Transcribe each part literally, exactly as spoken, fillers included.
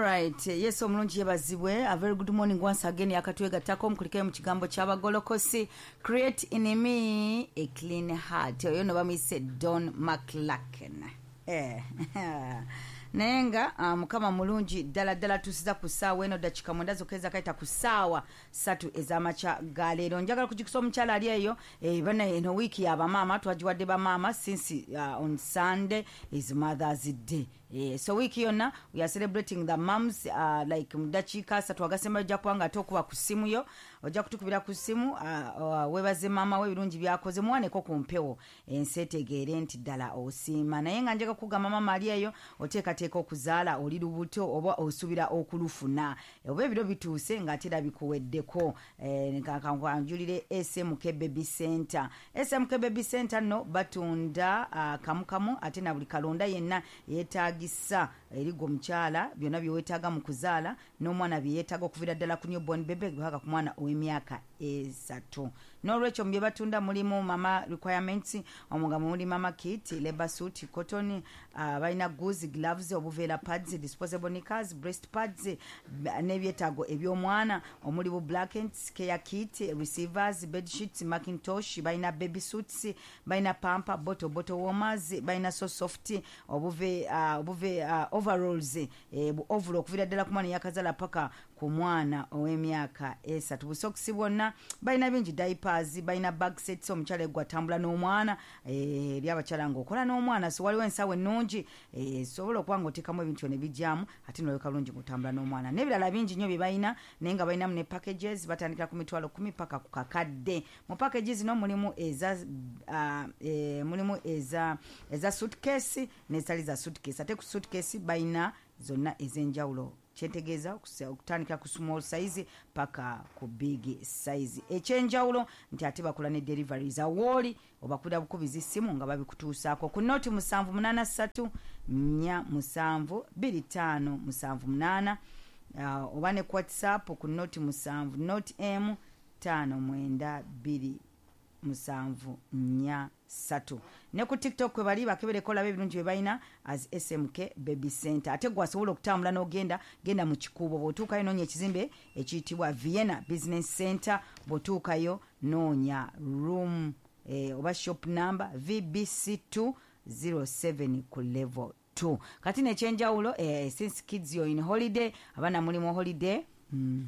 Alright, Yesu omulungi yebazibwe. A very good morning once again. Yakatwegattako mukulikeyo mu kigambo ky'abagolokosi, "Create in me a clean heart." Oyo no bamuyise Don McLacken. Eh. Naye nga uh, Mukama mulungi ddala ddala. Tusiza ku ssaawa eno dakika mwenda zokka ezakayita ku ssaawa ssatu ez'amakya ga leero. Njagala kujukisa omukyala ali eyo, eh, bana eno wiiki yabamaama, twagiwadde bamaama since uh, on Sunday is Mother's Day. Eh, so wiiki yonna we are celebrating the moms. uh, like mu dakiika asatu agasembayo ojja kuba nga ate okuba ku ssimu yo, ojja kutukubira ku ssimu, uh, uh, webaze maama we ebirungi byakoze, muwaneko ku mpewo, ensi etegeere nti ddala osiima. Naye nga njaga kugamba, maama ali eyo oteekateeka okuzaala, oli lubuto oba osuubira okulufuna oba ebiro bituuse ng'ate era bikuweddeko, eh, kanjulire S M K Baby Center. S M K Baby Center nno batunda uh, kamukamu ate na buli kalonda yenna yeetagisa eri gwe omukyala, byonna byeweetaaga mu kuzaala n'omwana bye yeetaaga, okuviira ddala ku newborn baby paka ku mwana ow'emyaka esatu. N'olwekyo mu bye batunda mulimu mama requirements, omwo nga muli mama kit, labor suit, cotton, uh, balina gauze, gloves, obuveera, pads, disposable knickers, breast pads, n'ebyetaago eby'omwana omuli bu blankets, care kit, receivers, bed sheets, mackintosh, balina baby suits, balina pamper, bottle bottle warmers, balina so soft obuve uh, obuve uh, overalls, eh, bu overall okuviira ddala ku mwana eyakazaala paka ku mwana ow'emyaka esatu, busokisi bwonna balina bingi, diapers, balina bag sets. Omukyala egwe atambula n'omwana, eh, eri abakyala ng'okola n'omwana, so waliwo ensawo ennungi esobola okuba ng'oteekamu ebintu ne bijyamu ate noleka bulungi ng'otambula n'omwana, n'ebirala bingi nnyo bye balina. Naye nga balinamu ne packages, batandikira ku mitwalo kumi paka ku kakadde. Mu package zino mulimu eza uh, e, mulimu eza eza suitcase n'ezitali za suitcase. Ate ku suitcase balina zonna ez'enjawulo, kyentegeeza okutandikira ku small size paka ku big size. Ekyenjawulo nti ate bakola ne deliveries, awooli obakubira bukubizi simu nga babikutuusaako ku noti musanvu munaana ssatu nnya musanvu bbiri ttaano musanvu munaana, uh, oba ne ku WhatsApp ku noti musanvu noti emu ttaano mwenda bbiri musanvu nnya ssatu. Ne ku TikTok kwe bali, bakebereko olaba ebirungi bye balina as S M K Baby Center. Ate gwe asobola okutambula n'ogenda, genda mu Kikuubo, bw'otuukayo noonya ekizimbe ekiyitibwa Vienna Business Center. Bw'otuukayo noonya room eh, oba shop number V B C two zero seven ku level two. Kati nekyenjawulo, eh, since kids you're in holiday, abaana muli mu holiday, mm.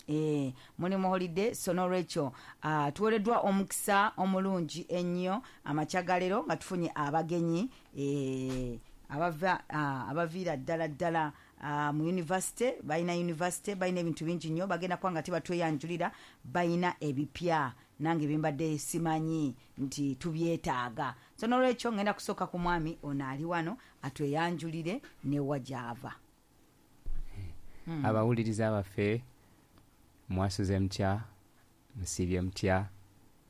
E, muli mu holiday, so nolwekyo uh, tuwereddwa omukisa omulungi ennyo amakya ga leero nga tufunye abagenyi e, abava uh, abaviira ddala ddala uh, mu university. Balina university, balina ebintu bingi nnyo, bagenda kuba nga tebatweyanjulira. Balina ebipya nange bimbadde simanyi nti tubyetaaga. So nolwekyo ngenda kusooka ku mwami ono ali wano atweyanjulire newa gyava. hmm. Abawuliriza baffe, mwasuze mutya? Musibye mutya?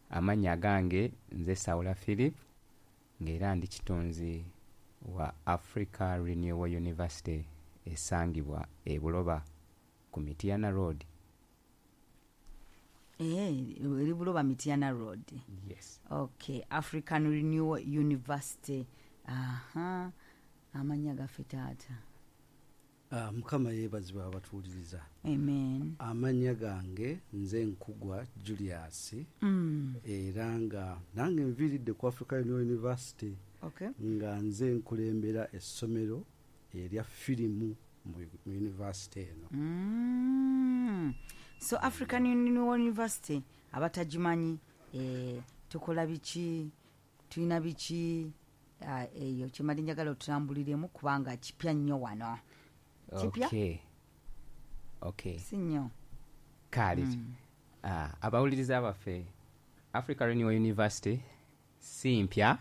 Amannya gange nze Sawula Philip, ng'era ndi kitunzi wa Africa Renewal University esangibwa e Buloba ku Mityana Road. Eh, eri Buloba, Mityana Road? Yes. Okay, African Renewal University. Aha, amannya gaffe taata? Ah, Mukama yeebazibwa abatuwuliriza. Amen. Amannya gange nze Nkugwa Julius, mm. era nga nange nviiridde ku Africa Renewal University, okay. nga nze nkulembera essomero erya firimu mu mu university eno. Mm. so African Renewal University, abatagimanyi, eh, tukola biki? Tulina biki? Ah, eyo kyemali njagala otutambuliremu kubanga kipya nnyo wano. Kipya? okay. okay. Si nnyo. Kale, mm. uh, abawuliriza baffe, Africa Renewal University si mpya,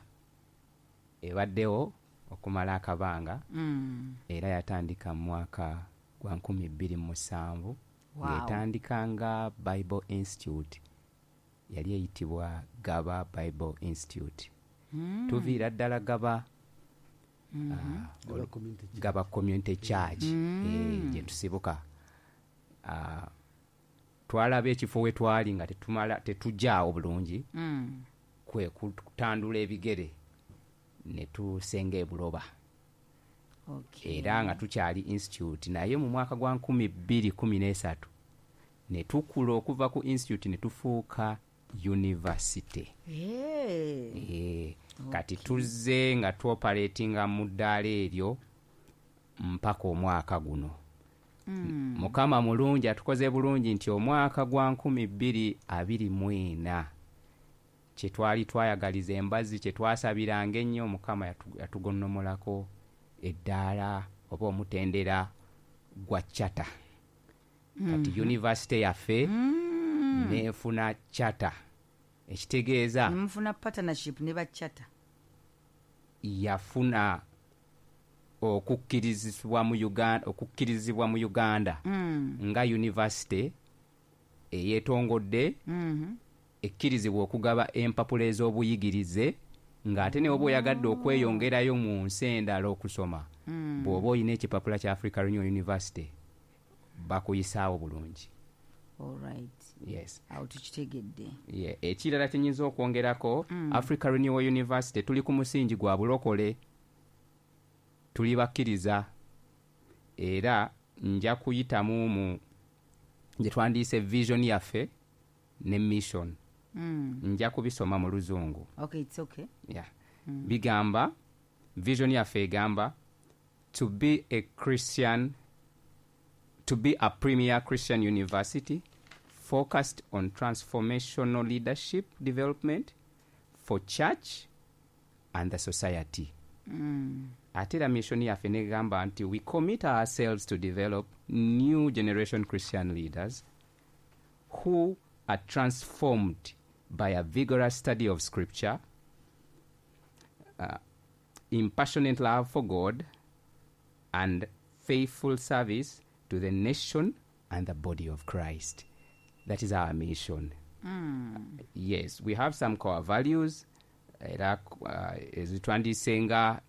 ebaddewo okumala akabanga, mm. era yatandika mu mwaka gwa nkumi bbiri mu musanvu, Wow. ng'etandika nga Bible Institute, yali eyitibwa Gaba Bible Institute. Mm. Tuviira ddala Gaba, mm -hmm. ah, Gaba Community Church. Gaba Community Church, Mm. eh, gye tusibuka. Ah, twalaba ekifo we twali nga tetumala, tetujjaawo bulungi, Mm. kwe kutandula ebigere ne tusenga e Buloba. Okay. Era nga tukyali institute, naye mu mwaka gwa nkumi bbiri kumi n'esatu ne tukula okuva ku institute ne tufuuka university. Hey. Eh, kati tuzze nga tuoperatinga mu ddaala eryo mpaka omwaka guno. Mm. Mukama mulungi, atukoze bulungi nti omwaka gwa nkumi bbiri abiri mu ena kye twali twayagaliza embazzi, kye twasabiranga ennyo, Mukama yatu-, yatugonnomolako eddaala oba omutendera gwa charter. Kati Mm-hmm. university yaffe Mm. n'efuna charter, ekitegeeza ne mufuna partnership ne ba charter. Yafuna okukkirizibwa mu Uganda, okukkirizibwa mu Uganda Mm. nga university eyeetongodde, Mm-hmm. ekkirizibwa okugaba empapula ez'obuyigirize, ng'ate ne bw'oba oyagadde okweyongerayo mu nsi endala okusoma, Mm. bw'oba olina ekipapula kya Africa Renewal University bakuyisaawo bulungi. All right. Yes. Awo tukitegedde. Yeah. Ekirala kye nnyinza okwongerako, Mm. Africa Renewal University tuli ku musingi gwa bulokole, tuli bakkiriza, era nja kuyitamu mu gye twandiise vision yaffe ne mission. Mm. Nja kubisoma mu Luzungu. Okay, it's okay. Yeah. Mm. Bigamba, vision yaffe egamba to be a Christian, to be a premier Christian university focused on transformational leadership development for church and the society. Mm. Ate era mission yaffe negamba nti we commit ourselves to develop new generation Christian leaders who are transformed by a vigorous study of scripture, uh, impassionate love for God, and faithful service to the nation and the body of Christ. That is our mission. Mm. Yes, we have some core values era, uh, ezitwandiise nga